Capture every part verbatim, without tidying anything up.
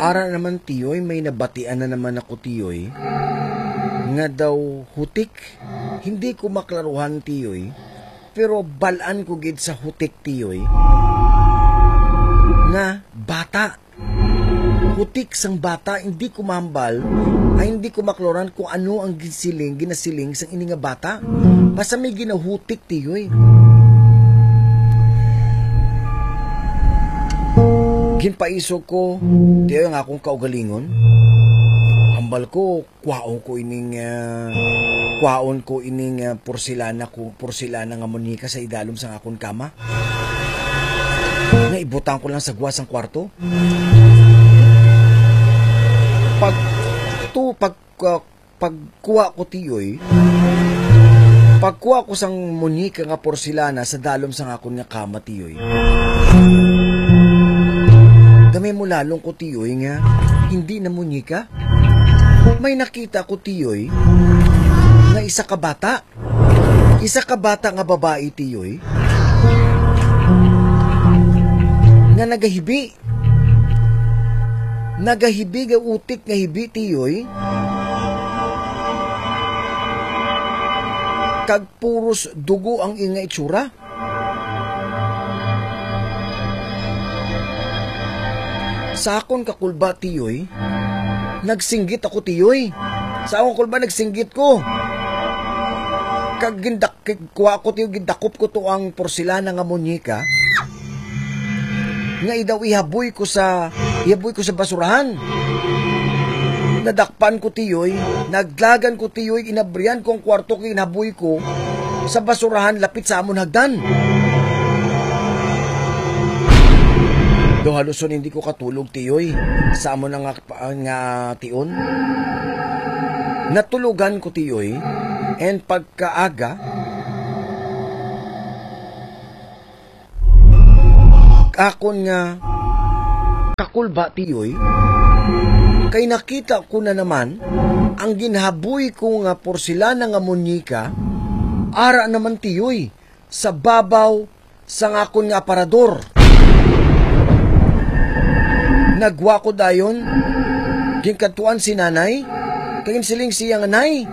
Ara naman, tiyoy, may nabatian na naman ako, tiyoy, nga daw hutik. Hindi ko maklaruhan, tiyoy, pero balaan ko gid sa hutik, tiyoy, nga bata. Hutik sang bata, hindi ko mahambal, ay hindi ko maklaruhan kung ano ang gisiling, ginasiling sang ini nga bata. Basta may ginahutik, tiyoy. Ginpaisog ko, tiyoy, ang akong kaugalingon. Hambal ko, kwaon ko ining, ah, kwaon ko ining, ah, porselana ko, porselana nga muñeca sa idalom sang akon kama. Nga ibutang ko lang sa gwa sang kwarto. Pag, tu, pag, ah, pagkuha ko, tiyoy, pagkuha ko sang muñeca nga porselana sa dalom sang akon nga kama, tiyoy, gamay mo lalong ko, tiyoy, nga hindi na muñeca. May nakita ko, tiyoy, nga isa ka bata. Isa ka bata nga babayi, tiyoy, nga nagahibi. Nagahibi, nga utik nga hibi, tiyoy. Kag puros dugo ang iya nga itsura. Sa akon kakulba, tiyoy, nagsinggit ako, tiyoy. Sa akon kulba, nagsinggit ko. Kag gindak-, kuha ko, tiyoy, gindakop ko to ang porselana nga muñeca. Nga idaw ihaboy ko sa, ihaboy ko sa basurahan. Nadakpan ko, tiyoy, naglagan ko, tiyoy, inabrihan ko ang kwarto kag inaboy ko sa basurahan lapit sa amon hagdan. Do haluson hindi ko katulog, tiyoy, sa amon nga, nga tion. Natulogan ko, tiyoy, and pagkaaga, akon nga kakulba, tiyoy, kay nakita ko na naman ang ginhaboy ko nga porselana nga muñeca, ara naman, tiyoy, sa babaw sang akon nga aparador. Nagwa ko dayon, ginkadtuan si nanay, kag ginsiling siya nga, "Nay,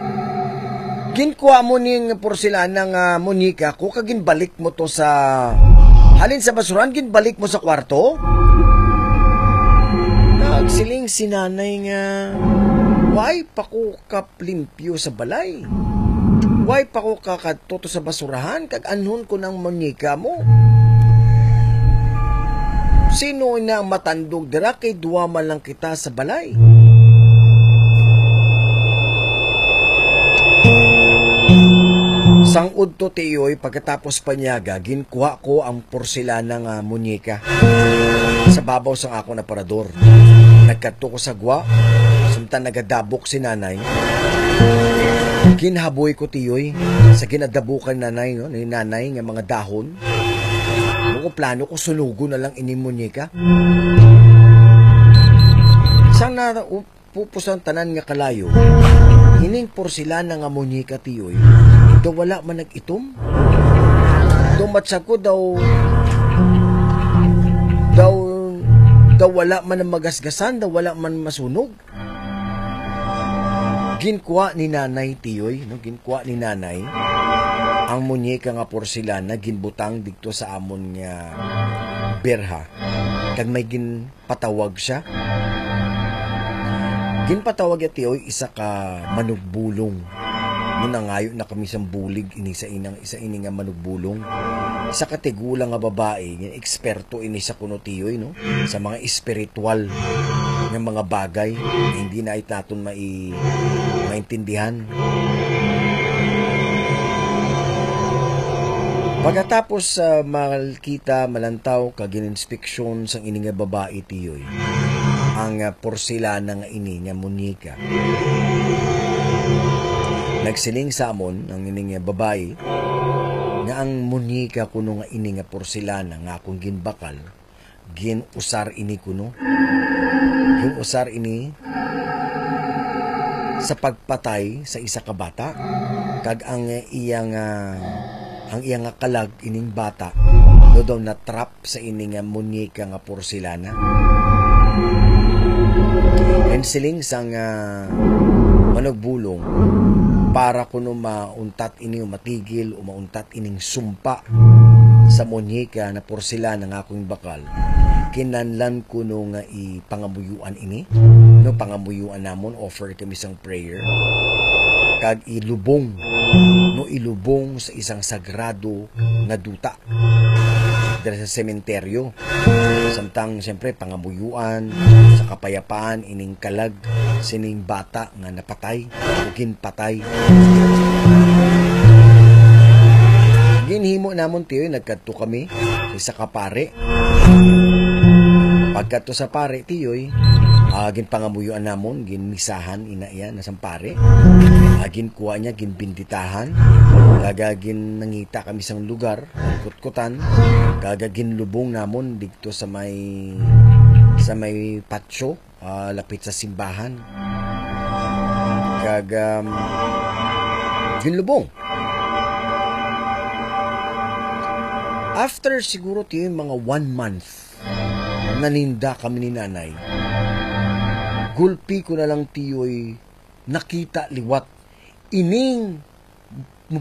ginkuha mo ning porselana nga muñeca ko, kag ginbalik mo to sa, halin sa basurahan, ginbalik mo sa kwarto?" Nagsiling si nanay nga, "Why pa ko ka limpyo sa balay? Why pa ko kakadto to sa basurahan kag anhon ko nang muñeca mo? Sino na ang matandog dira kay duha man lang kita sa balay?" Sang udto, tiyoy, pagkatapos panyaga, ginkuha ko ang porselana nga muñeca sa babaw sang akon aparador. Nagkadto ko sa gwa, samtang nagadabok si nanay. Ginhaboy ko, tiyoy, sa ginadabukan nanay, no, ni nanay nga mga dahon. Kung plano ko, sunugon na lang ini muñeca. Sang na, pupusan tanan nga kalayo, ining porselana nga muñeca, tiyoy, daw wala man nag-itom. Daw matsa ko, daw, daw, daw wala man ang magasgasan, daw wala man masunog. Ginkuha ni nanay, tiyoy, no? Ginkuha ni nanay ang muñeca nga porselana, ginbutang didto sa amon nga berha. Kag may gin patawag siya. Ginpatawag ya, tiyoy, isa ka manugbulong. Nung nangayo na kami sang bulig ini sa inang, isa ini nga manugbulong. Isa ka tigulang nga babae, nga eksperto ini sa kuno, tiyoy, no? Sa mga espiritual nga mga bagay, hindi na it naton mai-, maintindihan. Pagkatapos, ah, makita, malantaw, kag gin-inspeksyon sang ini nga babae, tiyoy, ang, ah, porselana nga ini nga muñeca. Nagsiling sa amon ang ini nga babae nga ang muñeca kuno nga ini nga porselana nga akong ginbakal, gin-usar ini kuno. Gin-usar ini sa pagpatay sa isa ka bata, kag ang iyang, ah, ang iyang kalag ining bata daw, daw na-trap sa ini nga muñeca nga porselana. And siling sang, ah, manugbulong, para kuno mauntat ini o matigil o mauntat ining sumpa sa muñeka na porselana nga akong bakal, kinahanglan kuno nga ipangamuyuan ini, no, pangamuyuan namon, offer kami sang prayer, kag ilubong, no, ilubong sa isang sagrado nga duta dira sa sementeryo. Samtang, siyempre, pangamuyuan sa kapayapaan ining kalag sining bata nga napatay o ginpatay. Ginhimo namon, tiyoy, nagkadto kami sa isa ka pare. Pagkadto sa pare, tiyoy, ah, ginpangamuyuan namon, ginmisahan ina iya na sang pare. Ah, ginkuha niya, ginbinditahan. Kag, ah, gin-, nangita kami sang lugar, kutkutan. Kag, ah, ginlubong namon didto sa may, sa may patio, ah, lapit sa simbahan. Kag, um, ginlubong. After siguro, tiyoy, mga one month, naninda kami ni nanay. Gulpi ko na lang, tiyoy, nakita liwat ining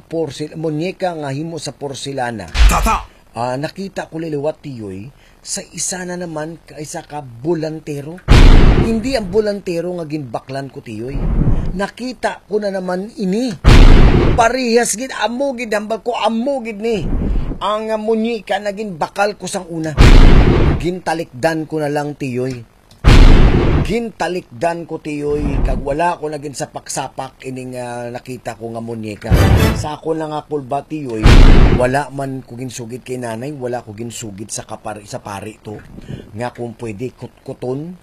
porsil-, muñeka nga himo sa porselana. Tata! Ah, nakita ko liwat, tiyoy, sa isa na naman ka, isa ka bolantero. Hindi ang bolantero nga ginbaklan ko, tiyoy. Nakita ko na naman ini. Parehas gid, amo gid, hambal ko, amo gid ni ang, ah, muñeka na ginbakal ko sang una. Gintalikdan ko na lang, tiyoy. Gintalikdan ko, tiyoy, kag wala ko na ginsapak-sapak ining, ah, nakita ko nga muñeka. Sa akon lang nga kulba, tiyoy, wala man ko ginsugid kay nanay, wala ko ginsugid sa kapari, sa pari to, nga kung pwede kutkuton,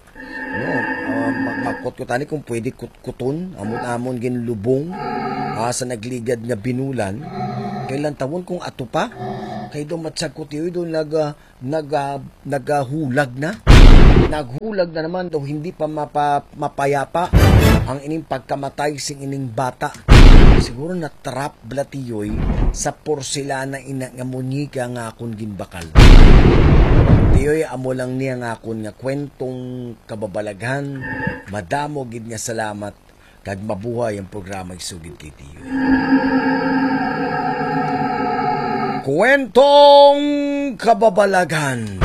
no? Ah, mag-, magkutkutani kung pwede kutkuton, amon-amon ginlubong, ah, sa nagligad nga binulan, kay lantawon kung ato pa, kay daw matsag ko, tiyoy, daw nag, ah, naga-, nagahulag na. Naghulag na naman daw, hindi pa mapa-, mapayapa ang ining pagkamatay sing ining bata. Siguro na-trap bala, tiyoy, sa porselana ina nga muñeka nga akon ginbakal. Tiyoy, amo lang niya nga akon nga kwentong kababalaghan. Madamo gid nga salamat. Kag mabuhay ang programa Isugid kay Tiyoy. Kwentong Kababalaghan.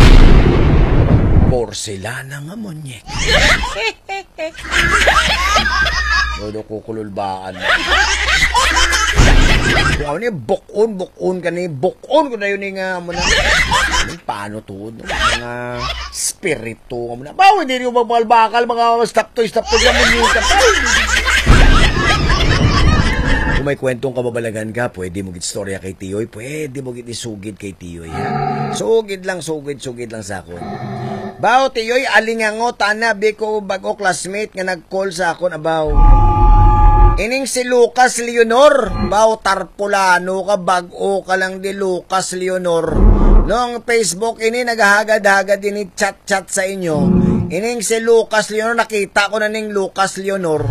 Porselana nga muñeka. Todo ko kululbaan. Kung ano ni, bukon, bukon ka ni, bukon ko na yun nga, amo na. Paano to, no? Mga spirito, amo na. Bawo, hindi niyo magbakal-bakal, mga stop to, stop to, lang mo yun. Kung may kwentong kababalaghan ka, pwede mo gid istorya kay Tiyoy, pwede mo gid isugid kay Tiyoy, ha? Sugid lang, sugid, sugid lang sa akon. Bawo, Tiyoy, alingangot, ana, bi ko bag-o classmate nga nag-call sa akon, abaw. Ining si Lucas Leonor, bawo, tarpulano ka, bag-o ka lang di, Lucas Leonor. No, ang Facebook ini, naghahagad-hagad ini, chat-chat sa inyo. Ining si Lucas Leonor, nakita ko na ning Lucas Leonor.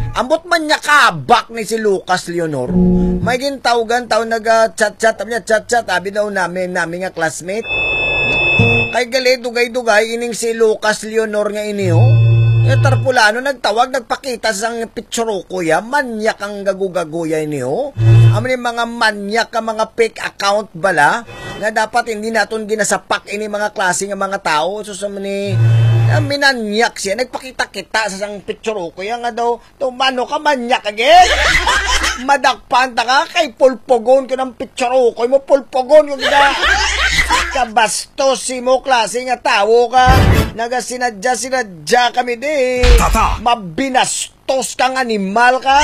Ambot man niya kabak ni si Lucas Leonor. May gintawgan, taw naga-chat-chat, sabi niya, chat-chat, abi daw nami, nami nga classmate. Kay gali, dugay-dugay, ining si Lucas Leonor nga ini, oh. Nga tarpulano, nagtawag, nagpakita sang picture ko ya. Manyak ang gago-gago ya ini, oh. Amo ni mga manyak ka, mga fake account bala, nga dapat hindi naton ginasapak ini mga klase nga mga tao. So, sa ni, ah, minanyak siya, nagpakita-kita sa sang picture ko ya nga daw, Tumano ka, manyak ka, gid. Madakpan ta ka, kay pulpugon ko ng pitsarukoy mo, pulpugon ko kita. Kabastos si mo, klase nga tawo ka. Nagasinadya-sinadya kami di. Tata. Mabinastos kang animal ka.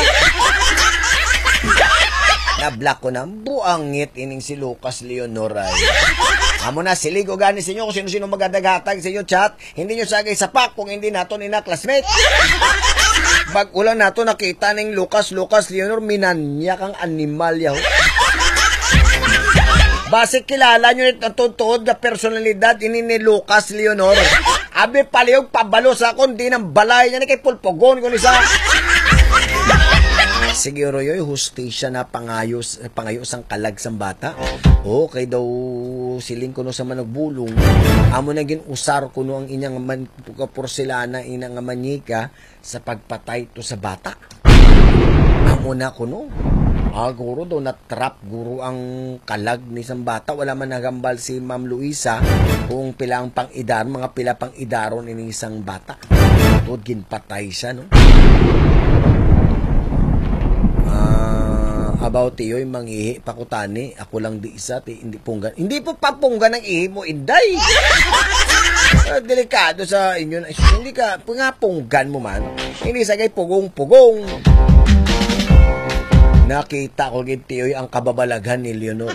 Na-block ko na, buangit ining si Lucas Leonor ay. Amo na, silig ko gani sa inyo kung sino-sino magadagatag sa inyo chat. Hindi nyo sagay sapak kung hindi nato ni na classmate. Bag-o lang nato nakita ning Lucas, Lucas Leonor, minanyak ang animal yaw. Basi kilala nyo ni tuod-tuod nga personalidad ini ni Lucas Leonor. Abi palihog pabalo sa akon, di nang balay niya ni kay pulpugon ko ni sa Sige, Royoy, hustisya na pangayo, pangayo sang kalag sang bata. O, kay daw siling kuno sa manugbulong, amo na gin-usar kuno ang inyang man, porselana, ina nga manyika sa pagpatay to sa bata. Amo na kuno. Ah, guro daw na-trap, guro, ang kalag ni sang bata. Wala man nagambal si Ma'am Luisa kung pila ang pang-edar, mga pila pang-edaron ini sang bata. Tod ginpatay siya, no? Ah, about tiyoy, mangihi pa ko tani. Ako lang di isa, ti, hindi punggan. Hindi po papunggan ang ihi mo, Inday. Ah, delikado sa inyo na. Hindi ka, nga punggan mo man. Hindi sa kay pugong-pugong. Nakita ko gid, tiyoy, ang kababalaghan ni Leonor.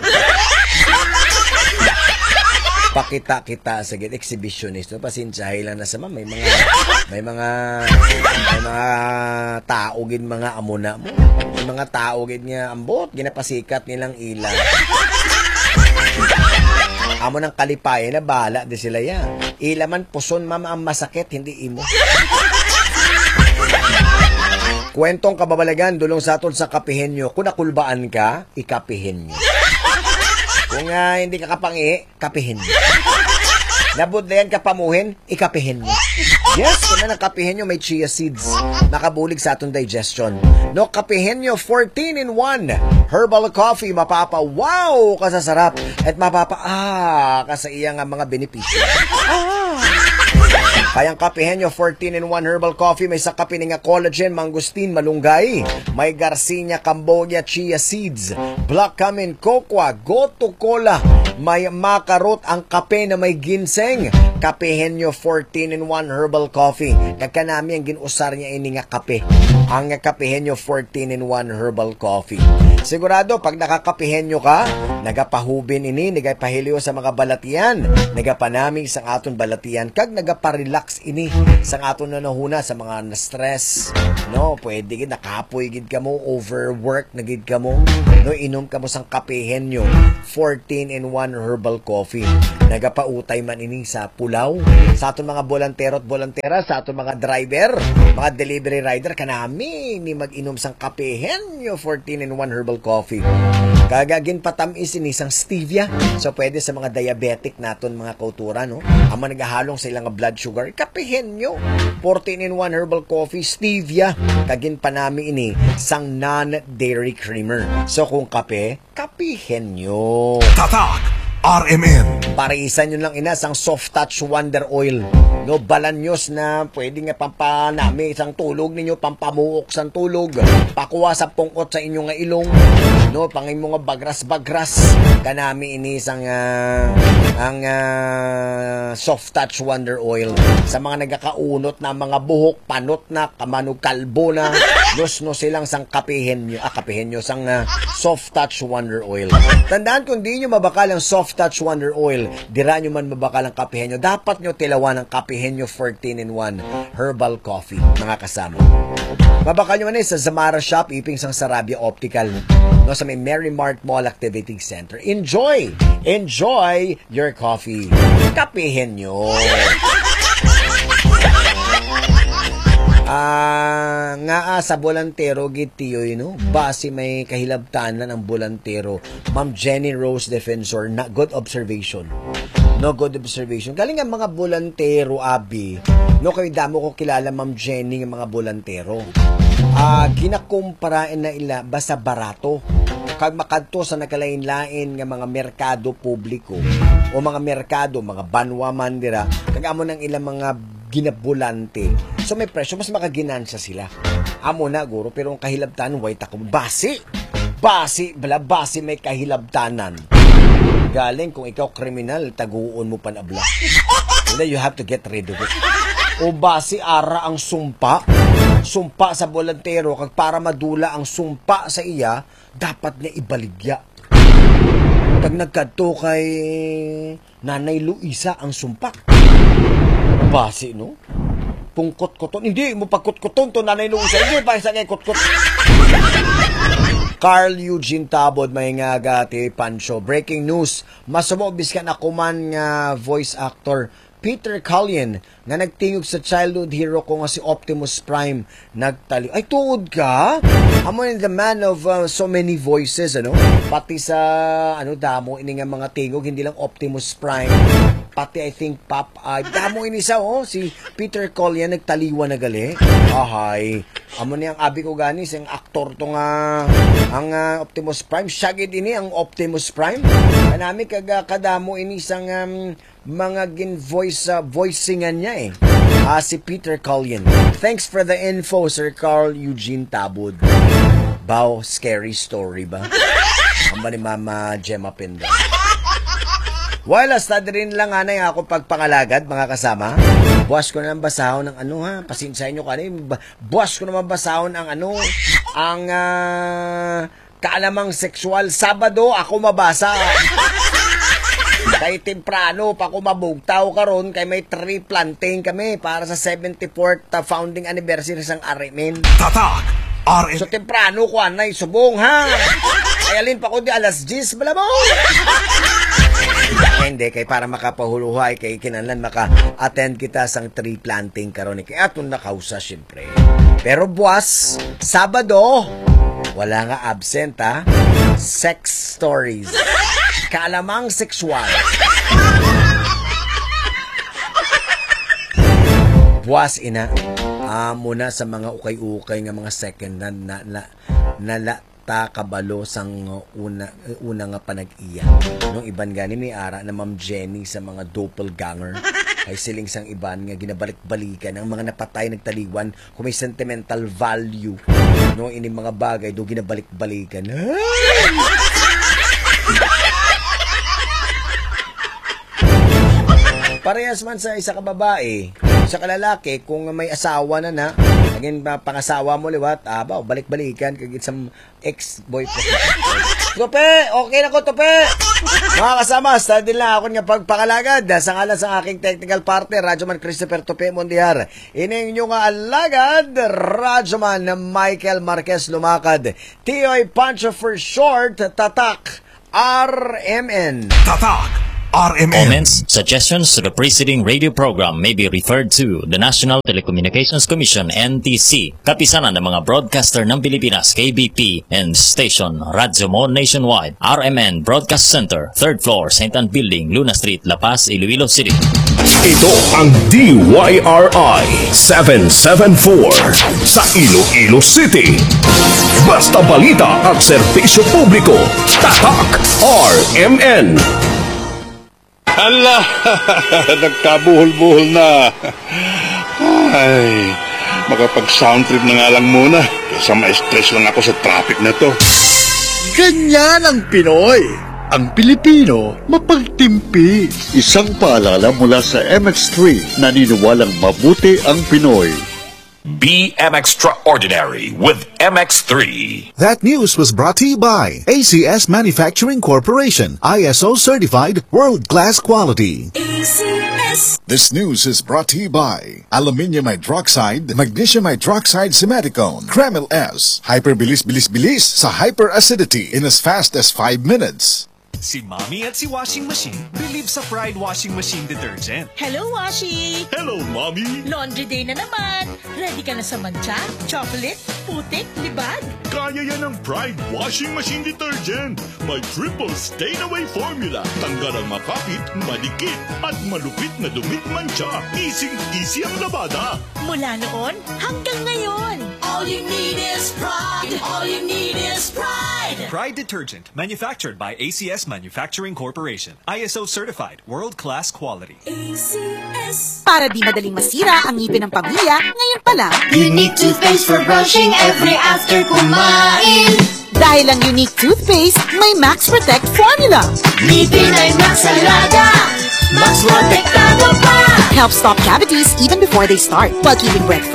Pakita-kita sa gid, exhibitionist, no? Pasensyahay lang na sa ma-, may mga, may mga, may mga tao gid, mga amo na mo. May mga tao gid nga ambot, ginapasikat nilang ila. Amo nang kalipayan na, bahala di sila ya. Ila man puson, mama, ang masakit, hindi imo. Kwentong kababalagan, dulong sa aton sa Kapihenyo. Kung nakulbaan ka, ikapihenyo. Kung, ah, hindi ka kapangi, kapihenyo. Nabudlayan ka pamuhin, ikapihenyo. Yes, kung ang kapihenyo may chia seeds, makabulig sa aton digestion. No, Kapihenyo fourteen in one herbal coffee, mapapa wow ka sa sarap at mapapa ah ka sa iya nga mga benepisyo. Ah! Kayang Kapihenyo fourteen in one herbal coffee, may sa kape ni nga collagen, mangosteen, malunggay, may Garcinia cambogia, chia seeds, black cumin, cocoa, gotu kola, may makarot, ang kape na may ginseng. Kapihenyo fourteen in one herbal coffee. Kag kanami ang gin-usar niya ini nga kape. Ang Kapihenyo fourteen in one herbal coffee. Sigurado, pag nakakapihenyo ka, nagapahubin ini, nagapahiliw sa mga balatian, nagapanami sa aton balatian, kag nagaparelax ini sa aton nanahuna sa mga na-stress, no? Pwede gid nakapoy gid kamo, overwork na gid kamo, no? Inom kamo sang Kapihenyo fourteen in one herbal coffee. Nagapautay man ini sa pulaw, sa aton mga bolantero at bolantera, sa aton mga driver, mga delivery rider, kanami ni mag-inom sang Kapihenyo fourteen in one herbal coffee. Kag ginpatamis ini sang stevia, so pwede sa mga diabetic naton, mga kauturan, no? Ang mga nagahalong sa ilang blood sugar, Kapihenyo fourteen in one herbal coffee, stevia, kag ginpanami ini sang non-dairy creamer. So kung kape, Kapihenyo. Tatak R M N. Parisan nyo lang ina sang Soft Touch Wonder Oil. No, balanyos na pwede nga pampanami sang tulog ninyo, pampamuok sang tulog, pakuha sa pungkot sa inyo nga ilong, no, pang imo nga bagras-bagras. Kanami ini sang, ah, ang, ah, Soft Touch Wonder Oil. Sa mga nagakaunot na mga buhok, panot na, kamano kalbo na, lus no silang sang Kapihenyo, ah, Kapihenyo, sang, ah, Soft Touch Wonder Oil. Tandaan, kung di nyo mabakal ang Soft Touch Wonder Oil, dira nyo man mabakal ang Kapihenyo. Dapat nyo tilawan ang Kapihenyo fourteen in one Herbal Coffee, mga kasama. Mabakal nyo man eh sa Zamara Shop, iping sang Sarabia Optical, no, sa may Merry Mart Mall Activity Center. Enjoy! Enjoy your coffee. Kapihin nyo. Ah, nga, ah, sa bolantero gid, tiyoy, no? Basi may kahilabtanan ang bolantero. Ma'am Jenny Rose Defensor, na good observation. No, good observation. Galing ang mga bolantero, abi. No, kay damo ko kilala, Ma'am Jenny, nga mga bolantero. Ah, ginakumpara na ila basta barato. Kag makadto sa nagkalain-lain nga mga merkado publiko o mga merkado, mga banwa man dira, kag amo nang ilang mga ginabulante. So may presyo, mas makaginansya sila. Amo na, guro, pero ang kahilabtan, way ta ko basi. Basi, bala, basi may kahilabtanan. Galing kung ikaw kriminal, taguon mo pan abla. Wala, you have to get rid of it. O basi, ara ang sumpa. Sumpa sa bolantero, kag para madula ang sumpa sa iya, dapat niya ibaligya. Kag nagkadto kay Nanay Luisa ang sumpa. Basi, no? Pungkot-koton. Hindi mo pagkutkuton to, Nanay Luisa. Hindi pa isa kay kutkot. Carl Eugene Tabod, may nga gati, Pancho. Breaking news. Masumo, biskan ako man nga voice actor. Peter Cullion nga nagtingog sa childhood hero ko nga si Optimus Prime nagtali. Ay, tuod ka? Amo ni the man of, uh, so many voices, ano? Pati sa, ano, damo ini nga mga tingog, hindi lang Optimus Prime. Pati, I think, Popeye. Damo ini sa, oh, si Peter Cullion nagtaliwan na gali. Ahay. Amo ni ang abi ko gani, sing aktor to nga, ang, ah, Optimus Prime. Siya gid ini ang Optimus Prime. Kanami kag, ah, kadamo ini sang, um, mga gin-voice, ah, voicingan niya eh. Ah, si Peter Cullion. Thanks for the info, Sir Carl Eugene Tabud. Bao, scary story ba? Ang ba ni Mama Gemma Pinda? Well, hasta diri lang anay ako pagpangalagad, mga kasama. Buwas ko na lang basahon ng ano, ha, pasensya nyo ka na, eh. Ba-, buwas ko naman basahon ang ano, ang, ah, kaalamang sexual. Sabado ako mabasa. Kay temprano pa ko mabugtaw karon, kay may tree planting kami para sa seventy-fourth, ah, founding anniversary sang R M N. Tatak R M N. So, temprano ko anay subong, ha? Ay, alin pa ko di alas diyes, bala mo? Hindi, kay para makapahuluhay, kay kinahanglan maka-attend kita sang tree planting karon, eh. Kay aton na kausa, syempre. Pero buwas, Sabado, wala nga absent, ha? Sex stories. Kaalamang sexual. Buwas, ina. Amo na sa mga ukay-ukay nga mga second hand na, na, na la-, ta kabalo sang una, una nga panag-iya. Nung iban gani may ara na Ma'am Jenny sa mga doppelganger. Ay siling sang iban nga ginabalik-balikan ang mga napatay nagtaliwan kung may sentimental value. No, ini mga bagay do ginabalik-balikan. Parehas man sa isa ka babae, sa kalalaki, kung may asawa na na, again, ma-, pangasawa mo liwat, abaw, balik-balikan, kag it's a ex-boyfriend. Tupe, okay na ko, Tupe. Mga kasama, sa din lang ako nga pagpangalagad. Sa ngalan sa aking technical partner, Radyo Man Christopher Tupe Mondiar. Ining inyo nga alagad, Radyo Man Michael Marquez Lumakad. T O A Pancho for short, tatak, R M N. Tatak, R M N. Comments, suggestions to the preceding radio program may be referred to the National Telecommunications Commission, N T C, Kapisanan ng mga Broadcaster ng Pilipinas, K B P, and station Radyo Mo Nationwide, R M N Broadcast Center, third floor, Saint Ann Building, Luna Street, La Paz, Iloilo City. Ito ang D Y R I seven seven four sa Iloilo City. Basta balita at serbisyo publiko, Tatak R M N. Hala, nagkabuhol-buhol na. Ay, makapag-sound trip na nga lang muna kaysa ma-stress lang ako sa traffic na to. Ganyan ang Pinoy. Ang Pilipino, mapagtimpi. Isang paalala mula sa M X three, naniniwalang mabuti ang Pinoy. Be M Extraordinary with M X three. That news was brought to you by A C S Manufacturing Corporation, I S O certified, world-class quality. A C S. This news is brought to you by Aluminium Hydroxide, Magnesium Hydroxide Simeticone, Kremil S, Hyperbilis Bilis Bilis sa hyperacidity in as fast as five minutes. Si Mommy at si Washing Machine believe sa Pride Washing Machine Detergent. Hello, Washi! Hello, Mommy! Laundry day na naman! Ready ka na sa mancha, chocolate, putik, libag? Kaya yan ng Pride Washing Machine Detergent. May triple stain away formula. Tanggal ang makapit, madikit, at malupit na dumi, mancha. Easy-easy ang labada. Mula noon hanggang ngayon. All you need is Pride. All you need is Pride. Pride Detergent. Manufactured by A C S Manufacturing Corporation. I S O certified, world-class quality. A C S. Para di madaling masira ang ngipin ng pamilya, ngayon pa lang. Unique toothpaste for brushing every after kumain. Dahil ang Unique Toothpaste may Max Protect Formula. Ngipin ay Max Alaga, Max Protektado pa. Helps stop cavities even before they start, while keeping breath